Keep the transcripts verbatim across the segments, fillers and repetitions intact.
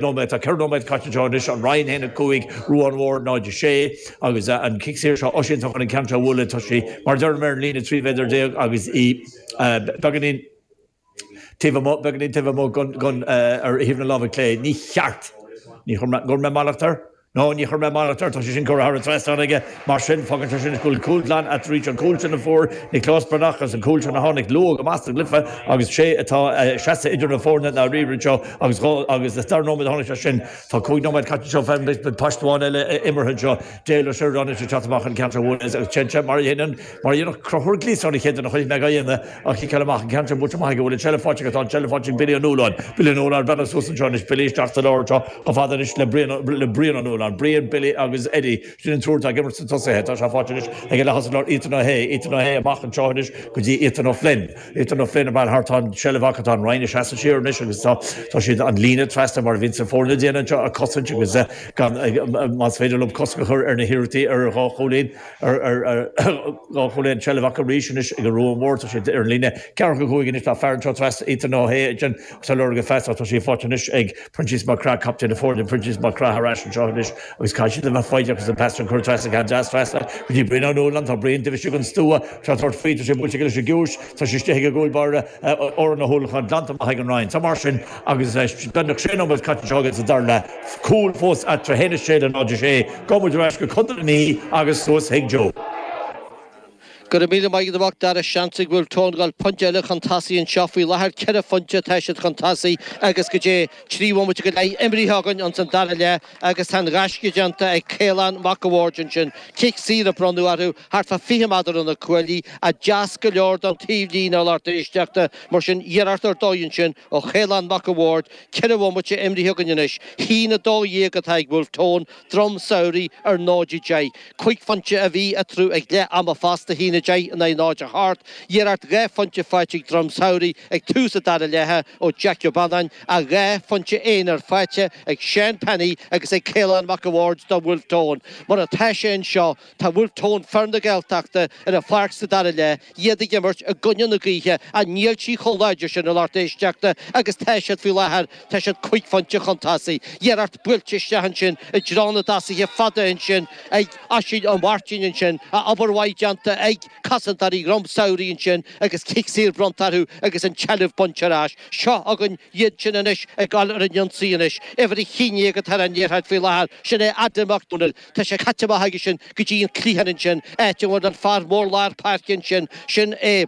Nóiméad, tá ceithre nóiméad caite anseo anois, an Rinn a haon a cúig, Ruán Mhór náid a sé, agus an cic saor seo, Oisín atá chun an ceann seo a bhualadh, tá sí, mar a deirim, ar an líne trí mhéadar déag agus í beagáinín taobh amuigh, beagáinín taobh amuigh gon ar thaobh na láimhe clé. Ní cheart, ní chuir mé, gcuir mé mallacht air? No, ní chuir mé mallacht air, tá sé sin curtha thar an trasnán aige. Mar sin, fágann sé sin go bhfuil cúl glan eatarthu, an cúl sin a fuair Nioclás Breathnach agus an cúl sin a tháinig luath go maith sa gcluiche agus sé atá seasta idir na foirne dáiríre anseo agus dhá agus is dara nóiméad a tháinig sé sin. Tá cúig nóiméad caite anseo, beidh paiste amháin eile imeartha anseo. Dale Ó Seireadáin anois ag teacht amach an ceann seo a bhualadh agus téann sé mar a dhéanann mar a dhéanfadh Conchúr Gleeson an chéad duine a chonaic mé á dhéanamh á chiceáil amach an ceann sin buailte amach aige bhfuil an tseilbh faighte aige tá an tseilbh faighte ag Billy Ó Nualláin. Billy Ó Nualláin breathnaigh suas anseo anois Billy isteach sa lár anseo chomh fada anois le Brian le Brian Ó Nualláin. Brian, Billy agus Eddie sin an triúr atá ag imirt sna tosaithe. Tá sé faighte anois ag an leath-thosaí láir Ethan Ó hAodha. Ethan Ó hAodha amach anseo anois go dtí Ethan Ó Floinn. Ethan Ó Floinn ag bail thart tá an tseilbh acu tá an Rinn ag seasamh siar anois agus tá tá siad an líne trasna mar a bhíonn na foirne ag déanamh anseo a chosaint agus gan más féidir leo cosc a chur ar na hiarrachtaí ar dhá chúilín ar ar ar dhá chúilín seilbh acu arís anois ag an Ruán Mhór tá siad ar an líne ceathracha cúig anois tá fear anseo trasna Ethan Ó hAodha ansin tá lorg a phas tá sí faighte anois ag Proinsias Mac Craith captaen na foirne Proinsias Mac Craith ar ais anseo anois agus caithfidh siad a bheith foighdeach agus an pas sin curtha trasna ceann deas trasna go dtí Brian Ó Nualláin tá Brian taobh istigh den stua tá tabhairt faoi tá sé buailte aige leis an gciumhais tá sé istigh ag an gcúl báire Odhrán Ó hUallacháin glanta amach ag an Rinn tá mar sin agus beagnach sé nóiméad caite anseo againn sa dara leath cúl fós eatarthu a haon a sé le náid a sé gabhfaidh muid ar ais go Contae na Mí agus suas chuig Joe. Go raibh míle maith agat a mhac Dara seans ag Bhulf Tón dul pointe eile chun tosaigh anseo faoi láthair ceithre phointe tá siad chun tosaigh agus go dté trí bhomaite go leith imrithe againn ins an dara leath agus tá an gaisce déanta ag Caolán Mac a' Bhaird ansin cic saor a bronnadh orthu thart fá fiche méadar ó na cuaillí ach deas go leor don taobhlíne a lucht éisteachta mar sin iarracht ar dóigh ansin ó Chaolán Mac a' Bhaird ceithre bhomaite imrithe againn anois haon a dó dhéag atá ag Bhulf Tón Droim Samhraidh ar náid a deich. Cúig phointe a bhí eatarthu ag leath ama fosta, haon a deich in aghaidh náid a hocht. Iarracht dhá phointe faighte ag Droim Samhraidh ag tús an dara leatha ó Jack Ó Beannáin ach dhá phointe aonair faighte ag Seán Penny agus ag Caolán Mac a' Bhaird do Bhulf Tón. Mar atá sé anseo, tá Wolfe Tone, fear na Gaeltachta, ar an pháirc sa dara leath, iad ag imirt i gcoinne na gaoithe ach níl sí chomh láidir sin a lucht éisteachta agus tá siad faoi láthair, tá siad cúig phointe chun tosaigh. Iarracht buailte isteach ansin i dtreo na dtosaithe fada ansin ag Oisín Ó Máirtín ansin, ach obair mhaith déanta ag cosantóirí Dhroim Samhraidh ansin agus cic saor bronnta orthu agus an tseilbh bainte ar ais. Seo againn iad sin anois ag dul ar an ionsaí anois. Uimhir a haon déag atá ar an liathróid faoi láthair, sin é Adam Mac Dónaill. Tá sé caite amach aige sin go dtí an cliathán ansin, áit a bhfuil an fear mór lár páirce ansin, sin é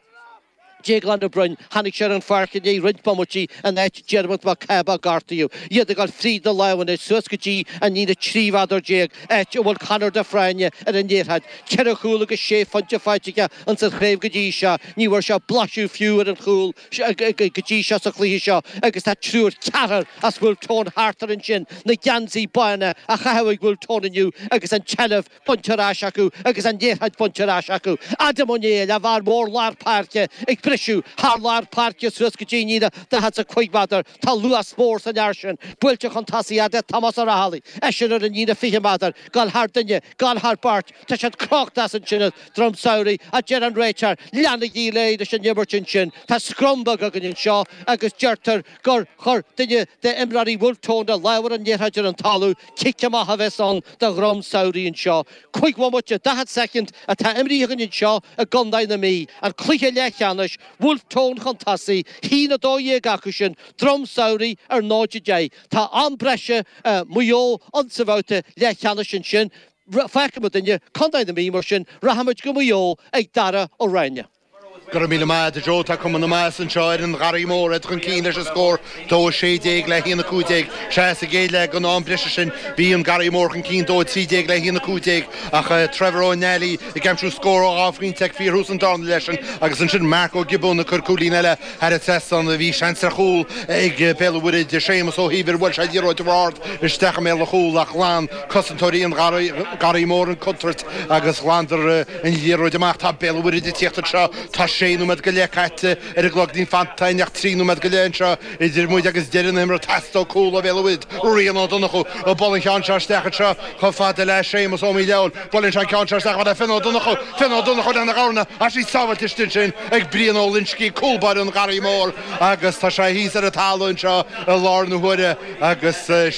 Déaglán Ó Broin. Tháinig sé ar an pháirc i ndiaidh roinnt bomaití in áit Diarmuid Mac Cába a gortaíodh. Iad ag dul fríd na lámha anois suas go dtí an líne trí mhéadar déag, áit a bhfuil Conor de Fráine ar an liathróid. Ceithre chúl agus sé phointe faighte aige ins an chraobh go dtí seo. Ní bhfuair sé blaiseadh fiú ar an chúl go dtí seo sa chluiche seo agus tá triúr, ceathrar as Bhulf Tón thart air ansin, na geansaí bána á chaitheamh ag Bhulf Tón inniu agus an tseilbh bainte ar ais acu agus an liathróid bainte ar ais acu. Adam Ó Néill, an fear mór lár páirce, ag briseadh thar lár páirce suas go dtí an líne daichead 's a cúig méadar. Tá luas mór san fhear sin. Buailte chun tosaigh fhad le Tomás Ó Raghallaigh, eisean ar an líne fiche méadar, gabháil thar duine, gabháil thar beirt. Tá siad crochta as ansin ag Droim Samhraidh, a deir an réiteoir. Leanaigí leis an imirt ansin. Tá scrum beag againn anseo agus deirtear gur chuir duine d'imreoirí Bhulf Tón a lámh ar an liathróid ar an talamh. Cic amach a bheas ann do Dhroim Samhraidh anseo. Cúig bhomaite, daichead soicind atá imrithe againn anseo i gContae na Mí. An cluiche leathcheannais, Bhulf Tón chun tosaigh, haon a dó dhéag acu sin, Droim Samhraidh ar náid a deich. Tá am breise Maigh Eo insa bhabhta leathcheannais ansin. Fágfaidh muidinne Contae na Mí mar sin, rachaimid go Maigh Eo ag Dara Ó Ráinne. Go raibh míle maith agat a Joe. Tá cuma na maitheasa anseo ar an Gharraí Mór, iad chun cinn leis an scór dó a sé déag le haon a cúig déag. Sea, sa gcéad leath den am breise sin bhí an Garraí Mór chun cinn dó a trí déag le haon a cúig déag ach Trevor Ó Neailí ag aimsiú scór ó dhá phointe ag fíorthús an darna leath sin agus ansin Mark Ó Giobúin ag cur cúilín eile thar an trasnán. Bhí seans ar chúl ag Béal an Mhuirthead, Séamus Ó hÍomhair, bhuail sé an liathróid ard isteach i mbéal an chúil ach ghlan cosantóirí an Gharraí Mór an chontúirt agus ghlanadar an liathróid amach. Tá Béal an Mhuirthead ag tíocht anseo. Tá Sé nóiméad go leith caite ar an gclog níl fanta ach trí nóiméad go leith anseo idir muid agus deireadh na himeartha Teastóidh cúl ó Bhéal an Mhuirthead. Rian Ó Donnchú ag bualadh an cheann seo isteach anseo chomh fada le Séamus Ó Míleáin. Buaileann sé an ceann seo isteach chomh fada le Finn Ó Donnchú. Finn Ó Donnchú lena dhorna ach í sábháilte istigh ansin ag Brian Ó Loinsigh, cúl báire an Gharraí Mór agus tá sé thíos ar an talamh anseo i lár na huaire agus sé